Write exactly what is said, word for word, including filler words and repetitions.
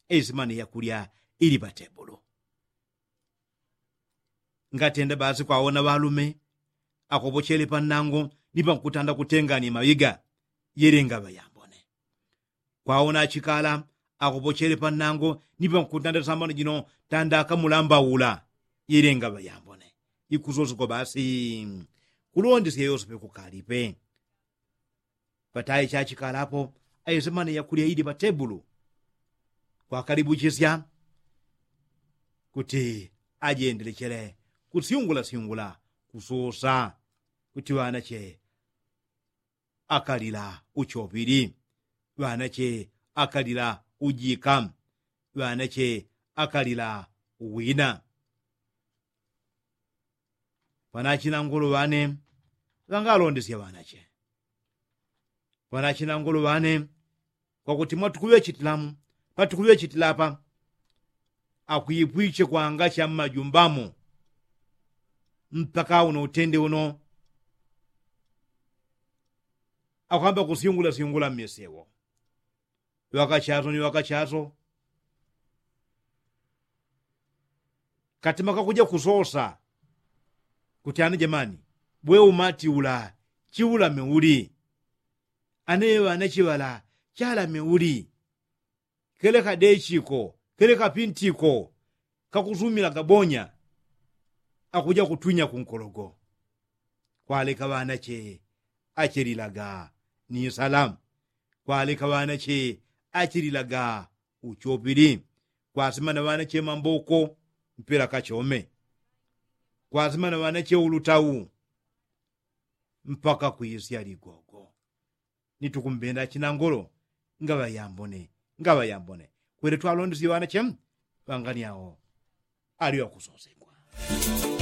Eisimani yakulya ili patebulu. Ngatenda basi kwaona ŵalume akopochele pannango ni pankutanda kutengani maŵiga. Yelenga ŵayambone. Kwaona achikala akopochele pannango ni pankutanda sambano jino tanda akamulambaula. Yelenga ŵayambone. Ikusosiko basi kulondesya yosepe kukalipe. Pataye chachikalapo aisemane yakulya ili patebulu. Kwakalibuchisya kuti ajendelechele kusyungulasyungula kususa kuti ŵanache akalila uchopili, ŵanache akalila ujika, ŵanache akalila uwina. Panachina ngolo ŵane ŵangalondesya ŵanache. Panachina ngolo ŵane kwakuti mwatukuŵechitilamu patukuŵechitila apa akwipwiche kwanga cha mmajumbamo. Mpaka uno utende uno akwamba kusyungulasyungula mmisewo. Ŵakachaso ni ŵakachaso katima kakuja kusosa kuti ana jamani bwe umati ula chiulame uli? Ane ŵanache ŵala chalame uli? Keleka dechiko keleka pintiko kakusumila gabonya. Akuja kutwinya kunkologo. Kwaleka ŵanache achelilaga ni salamu. Kwaleka ŵanache achelilaga uchopili. Kwasimana ŵanache mamboko mpela kachome. Kwasimana ŵanache ulutau mpaka kwisya ligogo. Nitukumbenda chinangolo ngaŵa yambone ngaŵa yambone. Kwele twalondesye ŵanache ŵanganiao ali ŵakusosegwa.